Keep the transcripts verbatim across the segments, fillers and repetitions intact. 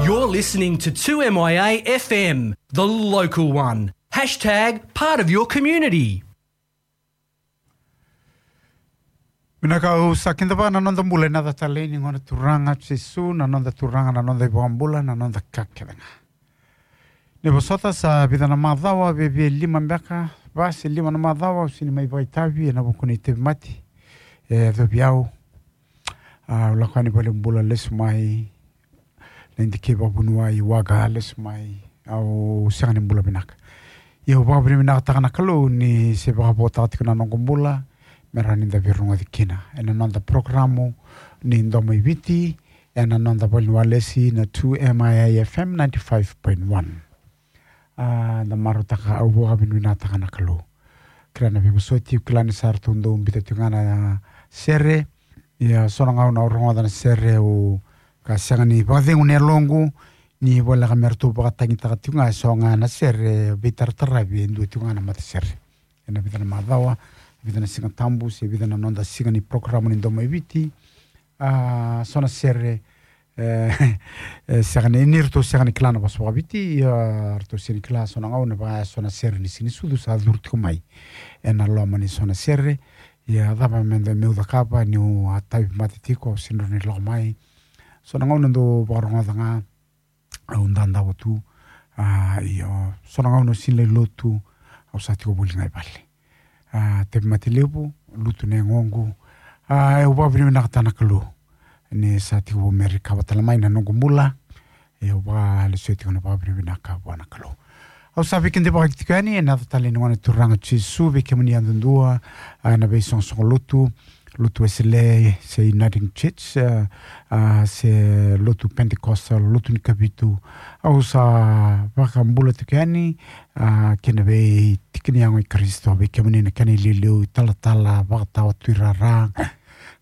You're listening to two M I A F M, the local one. Hashtag part of your community. Vinaka, au sa kidava na noda bula ena yaca talei ni Gone Turaga Jisu, na noda Turaga, na noda iVakabula, na noda ka kece ga. Ni vosota, sa vica na macawa, viavia lima beka, va se lima na macawa au sega ni mai vakaitavi ena vuku ni tauvimate e yacovi au. A, au lako yani valenibula, lesu mai Nadi kei vakavuniwai, waqa, lesu mai, au sega ni bula vinaka. Ia au vakavinavinakataka na Kalou ni se vakavotaka tiko na noqu bula me rawa ni da veirogoci kina ena noda porokaramu ni Domo i Viti ena noda valeniwalesi na two M I A F M ninety-five point one. A, da marautaka, au vakavinavinakataka na Kalou. Kila na veivosoti, au kila ni sa ratou dau biuta tiko ga na sere. Ia so na gauna au rogoca na sere au ka sega ni vakacegu na yaloqu, ni voleka me ratou vakatagitaka tiko ga eso ga na sere veitarataravi e dua tiko ga na matasere. Ena vica na macawa, vica na Siga Tabu se vica na noda siga ni porokaramu ni Domo i Viti. A, so na sere, e, e, sega ni, ni ratou sega ni kila na vosa vakaViti, ia ratou sega ni kila so na gauna vaka eso na sere ni Siga ni Sucu sa curu tiko mai ena loma ni so na sere. Ia cava me da, meu cakava niu a tauvimate tiko, au sega ni lako mai. So na gauna dau vakarogoca ga au dadava tu. A, io, so na gauna au sega ni lai lotu, au sa tiko voli ga i vale. A, tauvimate levu, lutu na yagoqu. A, au vakavinavinakataka na Kalou ni sa tiko vou me recover tale mai na noqu bula. Ia au vakalesuya tiko na vakavinavinaka vua na Kalou. Au sa veikidavaki tiko yani ena yaca talei ni Gone Turaga Jisu vei kemuni yadudua, a, ena veisoqosoqo lotu, lotu Wesele se Uniting Church, a, a, se lotu Pentecostal, lotu ni Kavitu. Au sa vakabula tiko yani, a, kei na veitiki ni yago i Karisito, vei kemuni na kena iliuliu, italatala, vakatawa, tuirara,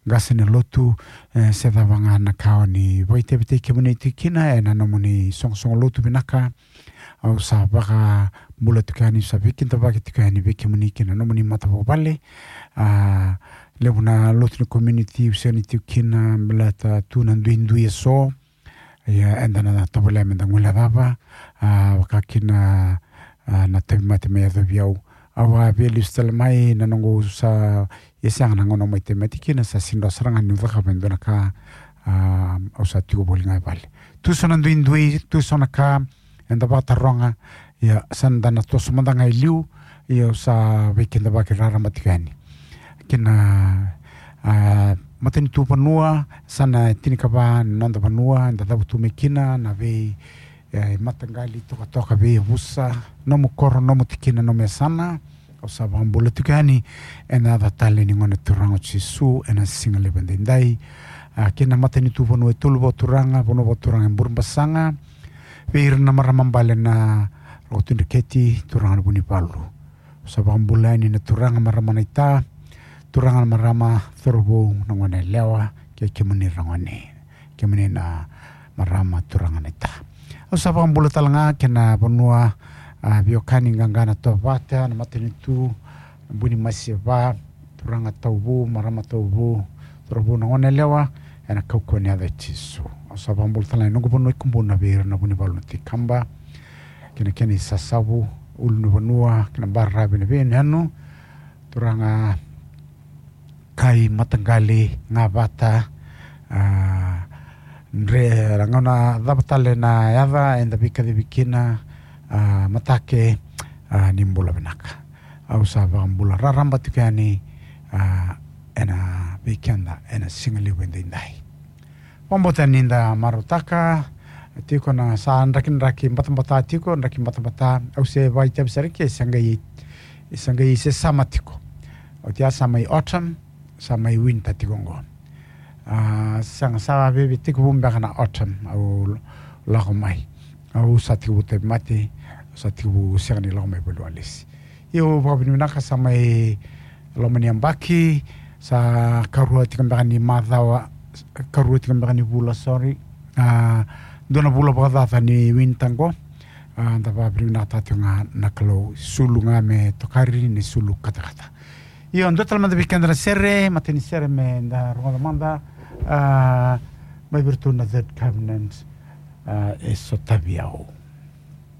qase ni lotu, e, se cava ga na ka o ni vakaitavitaki kemuni tiko kina ena nomuni soqosoqo lotu vinaka. Au sa vakabula tiko yani, sa veikidavaki tiko yani vei kemuni kei na nomuni matavuvale. A, levu na lotu ni community au sega ni tiko kina baleta tu na duidui eso. Ia eda na tovolea me da guilecava, a, vaka kina, a, na tauvimate me yacovi au. Au a via lesu tale mai na noqu sa, ia sega na gauna au mai tauvimate kina, sa sega sara ga niu cakava e dua na ka, a, au sa tiko voli ga i vale. Tu so na duidui, tu so na ka, eda vakataroga, ia sa da na toso mada ga i liu, ia au sa veikidavaki raraba tiko yani. Kei na, a, matanitu vanua, sa na tinikava na noda vanua eda cavutu mai kina, na vei, e, mataqali, tokatoka, veiyavusa, nomu koro, nomu tikina, nomu yasana. Au sa vakabula tiko yani ena yaca talei ni Gone Turaga o Jisu ena siga levu edaidai. A, kei na matanitu vanua e tolu vakaturaga, vanua vakaturaga e Burebasaga, vei ira na marama bale na Roko Tui Dreketi, turaga na Vunivalu. Au sa vakabula yani na turaga, marama naita, turaga, na marama, cauravou, na goneyalewa, kei kemuni ragone, kemuni na marama, turaga naita. Au sa vakabula tale ga kei na vanua, a, veiwekani, qaqa, na Tovata, na matanitu, na Buni Masi e va, turaga Tauvu, marama Tauvu, cauravou, na goneyalewa, ena kaukauwa ni yaca i Jisu. Au sa vakabula tale ga na noqu vanua i Kubuna vei ira na Vunivalu, na Tui Kaba, kei na kena isasavu, ulunivanua, kei na baravi, na veiyanuyanu, turaga, kai, mataqali, gavata, a, dre, na gauna cava tale na yaca eda veikacivi kina, a, matake, a, ni bula vinaka. Au sa vakabula raraba tiko yani, a, ena vei keda ena siga levu edaidai. Vakabauta ni da marautaka tiko na sa drakidraki batabata tiko, draki batabata, au se vakaitavi sara ke, se qai, se qai se summer tiko. Oti ya sa mai autumn, sa mai winter tiko oqo. A, sega, sa veve tekivu beka na autumn, au lako mai. Au sa tekivu tauvimate, au sa tekivu sega ni lako mai valeniwalesi. Io, vakavinavinaka, sa mai loma ni yabaki, sa karua tiko beka ni macawa, karua tiko beka ni vula, sorry. A, dua na vula vakacaca ni winter qo. A, da vakavinavinakataka tiko ga na Kalou, sulu ga me tokari ni sulu katakata. Io, dua tale mada vei keda na sere, matai ni sere me da rogoca mada, a, mai vei iratou na Third Covenant. A, e sotavi au.